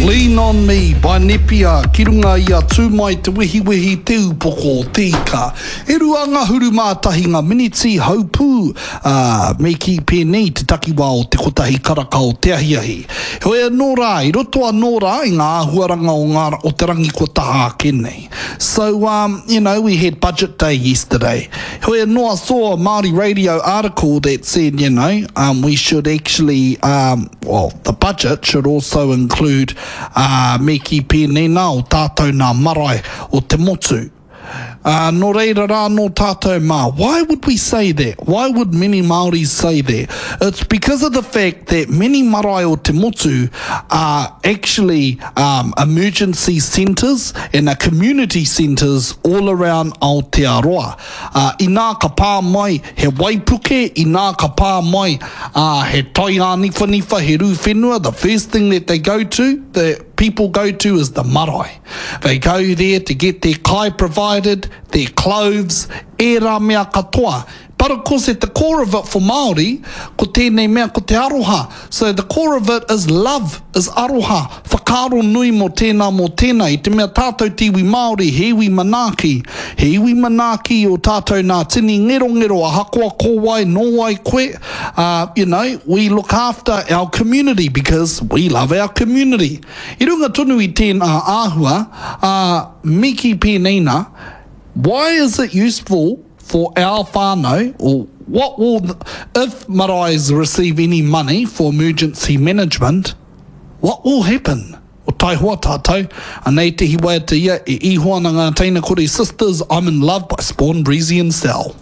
Lean on me by Nepia ki runga i a Tū Mai Te Wehiwehi Te Upoko o Te Ika. E 21 ngā miniti haupū, ā, me kī pēnei te takiwā o te kotahi karaka o te ahiahi. Heoi anō rā, i roto anō rā i ngā āhuaranga o ngā, o te rangi kua taha ake nei. So, um, you know, we had budget day yesterday. Heoi anō, I saw a Māori radio article that said, you know, um, we should actually, um, well, the budget should also include, uh, me kī pēnei nā, o tātou nā marae o te motu. Ā, nō reira rā nō tātou mā. Why would we say that? Why would many Māoris say that? It's because of the fact that many marae o te motu are actually um, emergency centres and are community centres all around Aotearoa. Ā, inā ka pā mai he waipuke, inā ka pā mai ā, he tai āniwhaniwha, he rū whenua, the first thing that they go to, the people go to is the marae. They go there to get their kai provided, their clothes, ērā mea katoa. But of course at the core of it for Māori, ko tēnei mea ko te aroha. So the core of it is love, is aroha, whakaaro nui mō tēnā mō tēnā. I te mea tātou te iwi Māori, he iwi manaaki. He iwi manaaki i ō tātou nā tini ngerongero ahakoa ko wai, nō wai koe, uh, you know, we look after our community because we love our community. I runga tonu i tēnā āhua, ā, me kī pēnei nā, why is it useful for our whānau, or what will, if maraes receive any money for emergency management, what will happen? O taihoa tātou, anei te hiwaiata ia e iho ana ngā teina kore Sisters, I'm in love by Spawn Breezy and Sal.